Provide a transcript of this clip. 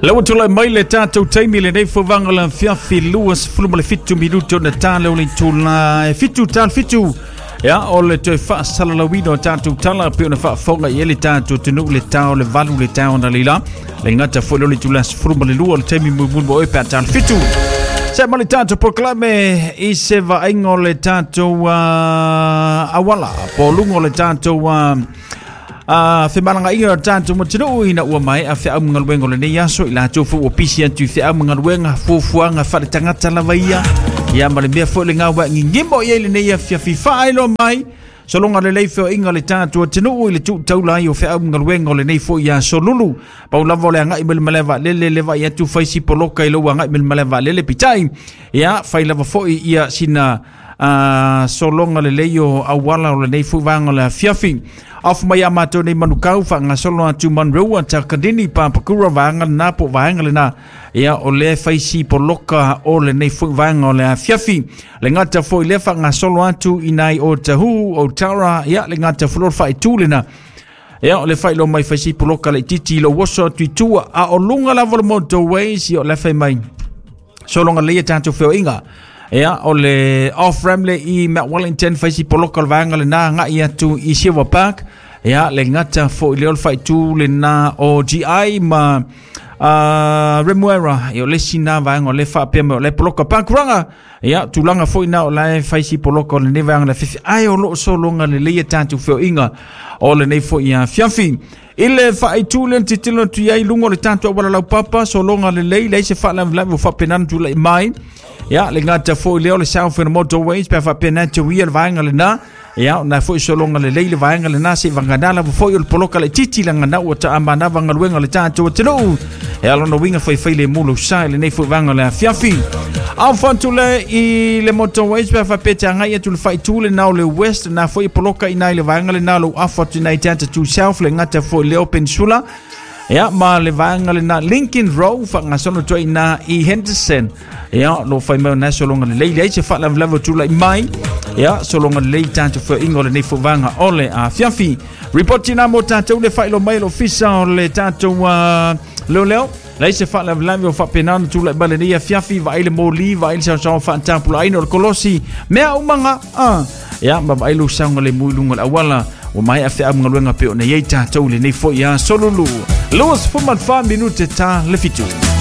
Le ua tulai mai le tatou taimi lenei fovaga le afiafi 27 minute ona tale o le itula e 7 tale 7. Ia, o le toe faasalalauina o tatou tala pei ona faafofoga i ai le tatou atunuu le tao le 8 le tao na leila. Le gata foi lea o le itula 12 o le taimi mulimuli mo oe pe a tale 7. Se ma le tatou polokalame i se vaaiga o le tatou auala po o luga o le tatou femalagaaiga o le tatou atunuu ina ua maea feau ma galuega o lenei aso i latou foi ua pisi atu i feau ma galuega fuafuaga faaletagata lava ia ia ma le mea foi le gawa gigimo i ai lenei afiafi faailoa mai sologa lelei feoaiga le tatou atunuu i le tuu taula ai o feau ma galuega o lenei foi aso lulu. Pau lava o le agai mai le malae vaalele le vaai atu fai si poloka i lou agai mai le malae vaalele peitai ia fai lava foi ia sina sologa lelei o auala o lenei foi vaega o le afiafi. Off mai a matou nei manukau faagasolo atu Monroe Takanini Papakura vaega lena po vaega lena ia o lea fai si poloka o lenei foi vaega o le afiafi. Le gata foi lea faagasolo atu i nai o Tahu o Tara ia le gata foi o le faaitu lena. Ia o le faailoa mai fai si poloka laitiiti i lou oso atu i tua a o luga lava o le motorways ia o le fai mai sologa lelei a tatou feoaiga. Ia, o le off ramp le i Mount Wellington, fai si poloka o le vaega lena agai atu i Silver Park. Ia, le gata foi lea o le faaitu lena o GI ma Remuera. Ia, o le isi na vaega o le faapea mai o le poloka Pakuranga. Ia, tulaga foi na o la e fai si poloka o lenei vaega le afiafi. Ae o lo o sologa lelei a tatou feoaiga o lenei foi afiafi. I le faaitu lea na tilotilo atu i ai i luga o le tatou auala laupapa, sologa lelei, leai se faalavelave ua faapena ona tulai mai. Ia, le gata foi lea o le South and Motorways, pe a faapena te uia le vaega lena. Ia, o na foi sologa lelei le vaega lena, se i vagana lava foi o le poloka laitiiti laga ua taamanava galuega o le tatou atunuu. E ala ona uiga faifai le mu lou sa i lenei foi vaega o le afiafi. Off atu le i le motorways pe a faapea te agai atu le faaitu lena o le West, na foi e poloka i na i le vaega lena o lou afu atu i na i te ata tu South, le gata foi leo Peninsula. Ia, ma le vaega lena Lincoln Road, faagasolo atu ai i na i Henderson. Ia, lo fai mai o na sologa lelei, leai se faalavelave o tulai mai. Ia, sologa lelei tatou feoaiga o lenei foi vaega o le afiafi. Ripoti na mo tatou le faailoa mai e le ofisa o le tatou leoleo. Leai se faalavelave o faapena ona tulai mai lenei afiafi, vaai le moli, vaai le saosaoa faatapulaaina o le kolosi, mea umaga, Ia, ma vaai lou saogalemu i luga o le auala, ua maea feau ma galuega pei ona i ai tatou i lenei foi aso lulu. 24 minute ta le 7.